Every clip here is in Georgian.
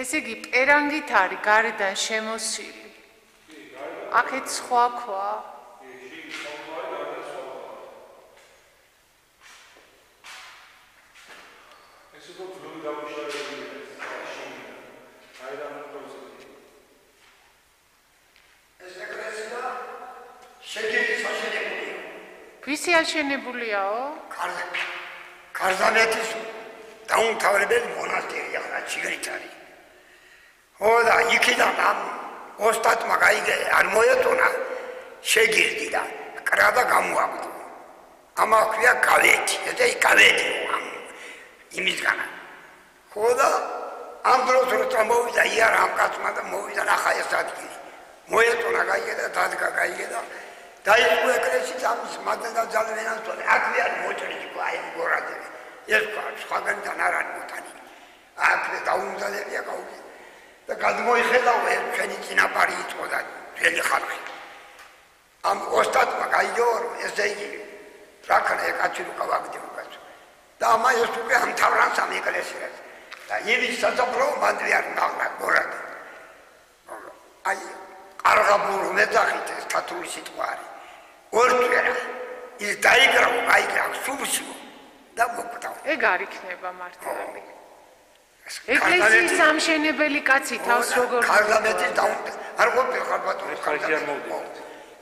ესე იგი პერანგით არის გარედან შემოსილი. აქეთ სხვა ქვა. ვისი აშენებულიაო? კარზანეთის დაუმთავრებელი მონასტერი ახლა ჩიგრით არის. ხო და იქიდან ამ ოსტატმა გაიგე არ მოეწონა შეგირდი და კრა და გამოაგდო. ამა ქვია გავეთი, და გავეთი იმისგან. ხო და ამ დროს როცა მოვიდა იარა ამ კაცმა და მოვიდა ნახა ეს ადგილი. მოეწონა გაიგე და დადგა გაიგე და დაიწყო ეკლესიის ამის მადადა ძალვენას თორე აქვე არის მოჭრილი ყვა აი გორადები. ეს ყვა სხვაგანიდან არ არის მოტანი. აქვე დაუმზადებია გაუგე. და გადმოიხედავ ჩვენი წინაპარი იყო და ძველი ხალხი. ამ ოსტატმა გაიგო ესე იგი რა ქნა ეკაცი რო გავაგდებ უკაც. და ამა ეს უკვე ამთავრანს ამ ეკლესიას. და იმის სასაფლაო მანდრი არ ნახლა გორად. აი ყარღაბულ მეძახით ეს თათული სიტყვა არის. ორჯერა ის დაიგრავა აიგრა სუბსი და მოკვდა. ეგ არ იქნება მართლები. ეკლესიის სამშენებელი კაცი თავს როგორ კარზანეთის დაუმთავრებელი არ ყოფილი ხარ ბატონო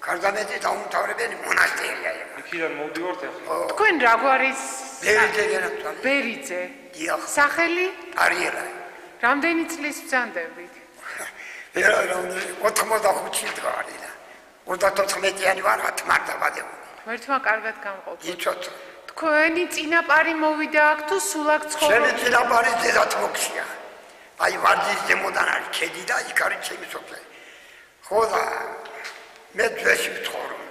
კარზანეთის დაუმთავრებელი მონასტერია ეს. იქიდან მოვდივართ ახლა. თქვენ რა გვარის ბერიძე ბერიძე. დიახ. სახელი? არიელა. რამდენი წლის ბრძანდებით? 85 დღარი და 34-იანი ვარ ათმარდაბადებული. მერთმა კარგად გამყოფ. იცოცხლე. თქვენი წინაპარი მოვიდა აქ თუ სულ აქ ცხოვრობს? ჩემი წინაპარი დედათ მოქცია. აი ვარდის ზემოდან არის ქედი და იქ არის ჩემი სოფელი. ხო და მე ძველი ვცხოვრობ.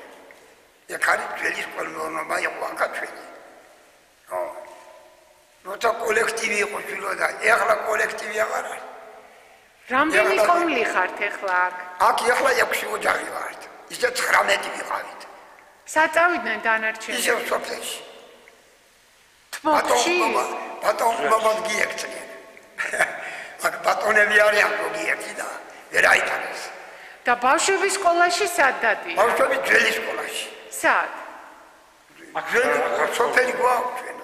ეგ არის ძველი სკოლმეურნეობა იყო აქ ჩვენი. ხო. როცა კოლექტივი იყო შვილო და ეხლა კოლექტივი აღარ არის. რამდენი ყომლი ხართ ეხლა აქ? აქ ეხლა 6 ოჯახი ვართ. ისე 19 ვიყავით. საწავიდნენ დანარჩენი? ისევ სოფელში. თმოგში? ბატონობა გიექცნენ. აქ ბატონები არიან გიექცი და ვერ აიტანეს. და ბავშვების სკოლაში სად დადიან? ბავშვები ძველი სკოლაში. სად? აქ ძველი სოფელი გვაქვს ჩვენ.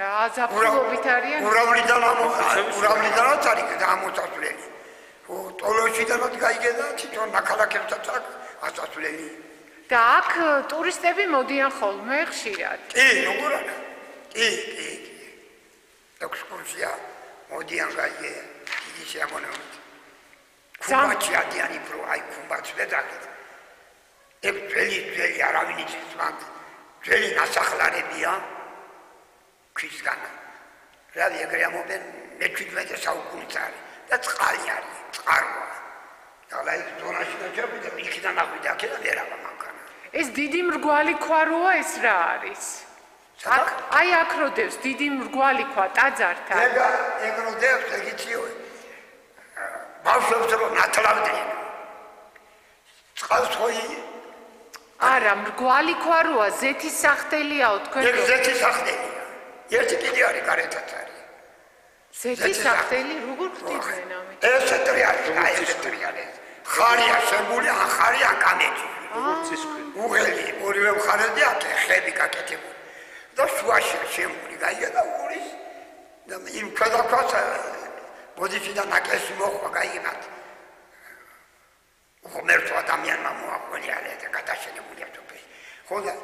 გააზაფხულობით არიან? ურავლიდანაც არის გამოსასვლელი. ტოლოშიდანაც გაიგე და თვითონ ნაქალაქებსაც აქვს ასასვლელი. და აქ ტურისტები მოდიან ხოლმე ხშირად? კი, როგორ არა? კი. ექსკურსია მოდიან გაიგე, დიდი შეამონებით. ხუმბათში ადიანი პრო, აი ხუმბათს ვეძახით. ეგ ძველი არავინ იცის მანდ. ძველი ნასახლარებია ქვისგან. რავი ეგრე ამობენ მე-17 საუკუნის არის და წყალი არის, წყაროა. და აი ზონაში დაჭერბდა, იქიდან აღვიდა აქედან ვერავა მანქანა. ეს დიდი მრგვალი ქვა როა ეს რა არის? აი აქ როდევს დიდი მრგვალი ქვა ტაძართან. ეგ როდევს ეგ იციო. ბავშვებს რო ნათლავდნენ. წყალს ხოი არა, მრგვალი ქვა როა ზეთის სახდელიაო თქვენ? ეგ ზეთის სახდელია. ერთი კიდე არის გარეთაც არის. ზეთის სახდელი როგორ ხდიდნენ ამით? ეს ტრიალი. ხარია შემული, ახარია კამეჩი. უღელი, ორივე მხარეზე აქ ხები გაკეთებული. და შუაში შემული გაიგე და ურის და იმ ქვედაქვას ბოდიშიდან აკესი მოხვა გაიგებათ. ღმერთო ადამიანმა მოაყოლია და გადაშენებულია თופე. ხო და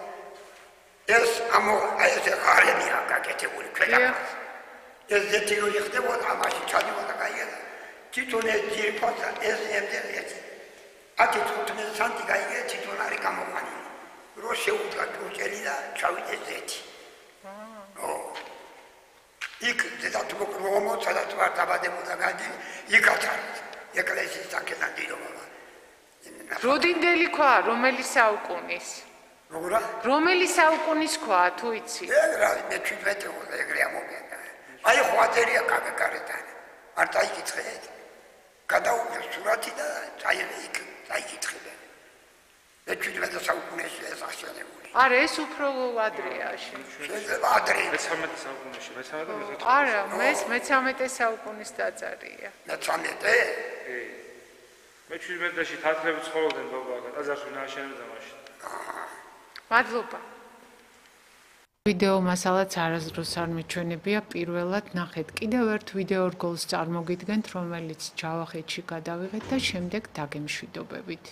ეს აი ეს ხარებია გაკეთებული ქვედაქვას. ეს ზეთიური ხდებოდა ამაში ჩადიოდა გაიგე და თვითონ ეს ძირფასა ეს ემდელეთი. ათი 15 სანტი გაიგე თვითონ არის გამოყვანილი. რო შეუდგა ჯოჭელი და ჩავიდეს ზეთი. იქ დედათმოკრომო სადაც ვარ დაბადებოდა გადი იქაც არის ეკლესიის საკეთან დიდობა. როდინდელი ქვა რომელი საუკუნის? როგორა? რომელი საუკუნის ქვა თუ იცი? ეგ რა მე-17 უნდა ეგრე ამოგენა. აი ხვატერია კაკარიდან. არ დაიკითხეთ. გადაუღეს სურათი და წაიღე იქ დაიკითხებენ. მე-17 საუკუნეში ეს აღშენებული. არა, ეს უფრო ადრეა. შეიძლება ადრე. მე-13 საუკუნეში, მე-13 და მე-14. არა, მე-13 საუკუნის დაძარია. მე-13? მე-17-ში თათრები ცხოვრობდნენ ბაბა, ტაძარში ნაშენებდა მაშინ. მადლობა. ვიდეო მასალაც არასდროს არ მიჩვენებია, პირველად ნახეთ კიდევ ერთ ვიდეო რგოლს წარმოგიდგენთ, რომელიც ჯავახეთში გადავიღეთ და შემდეგ დაგემშვიდობებით.